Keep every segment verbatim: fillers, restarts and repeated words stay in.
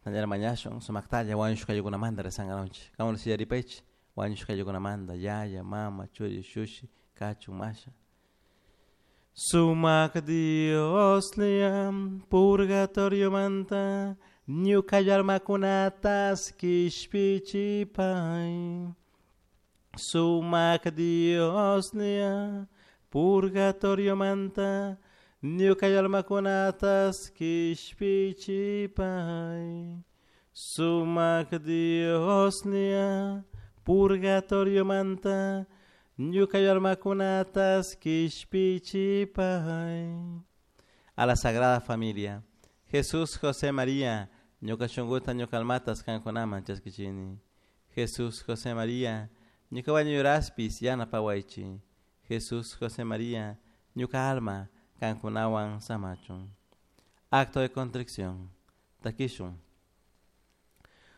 Nallara mañashun sumaktalla wañushka ayllunamanta rezangaronchik. Kamun sillaripaychik wañushka ayllunamanta yaya, mama, churi, shushi, kachun, masha. Sumak Dioslla purgatorio manta ñuka almakunatas kishpichipay. Sumak Dioslla purgatorio manta ñuka almakunatas kishpichipay. Sumak Dioslla purgatorio manta ñuka almakunatas kishpichipay. A la Sagrada Familia, Jesús, José, María, ñuka shunkuta ñuka almatas kankunaman chaskichini. Jesús, José, María, ñuka wañuraspis yanapawaychi. Jesús, José, María, ñuka alma kankunawan samachun. Acto de contrición. Takishun.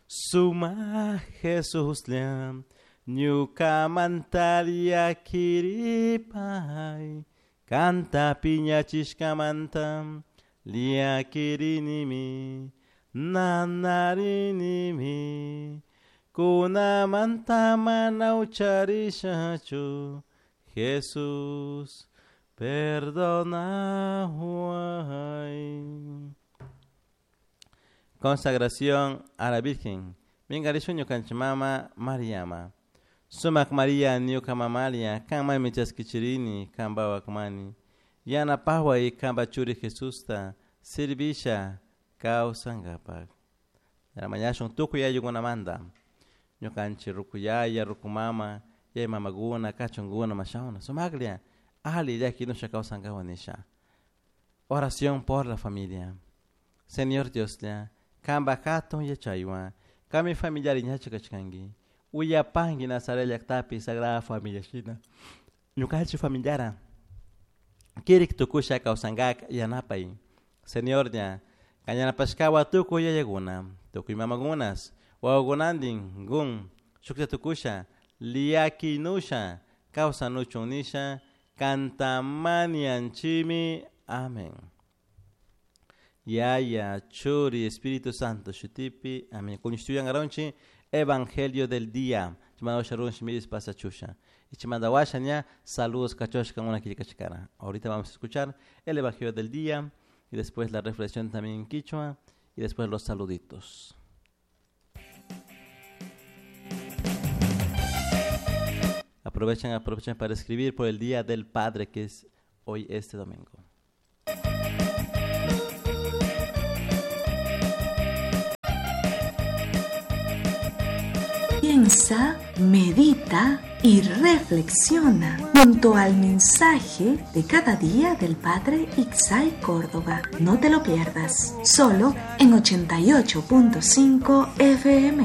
Suma Jesús liam, ñuka mantaria kiripay, kanta piñachishkamanta, liakirinimi, nanarinimi, kunamanta mana ucharishachu, Jesús, perdonaway. Consagración a la Virgen. Mingarishun ñukanchik mama Mariama. Sumak María ñuka mamalia, kanmanmi chaskichirini, kanpa wakmani. Yanapaway kanpa churi Jesusta, servisha kawsankapak. Mañashun tukuy ayllukunamanta. Ñukanchik rukuyaya, rukumama, yay mamakuna, kachunkuna, mashawna. Sumaklla, ali llakinusha kawsankawan nisha. Oración por la familia. Señor Dioslla, kanpa hatun yachaywan, kami familiar ñachu kachkanki. Uyapanki Nazaret llaktapi Sagrada Familia shina. Ñukanchik familiara kirik tukusha kawsankak yanapay. Señor ña, kañanapashkawa tukuy yayakuna, tukuy mamakunas, wawakunantin gun, shukta tukusha, liakinusha, kawsanuchun nisha, kantamanianchimi. Amén. Yaya, Churi, Espíritu Santo, Shutipi, amén. Kuñustuyan garonchi, Evangelio del día. Saludos cachoshka una quillkachkara. Ahorita vamos a escuchar el Evangelio del día y después la reflexión también en quichua y después los saluditos. Aprovechen, aprovechen para escribir por el Día del Padre, que es hoy este domingo. Piensa, medita y reflexiona junto al mensaje de cada día del Padre Ixay Córdoba. No te lo pierdas, solo en ochenta y ocho punto cinco F M.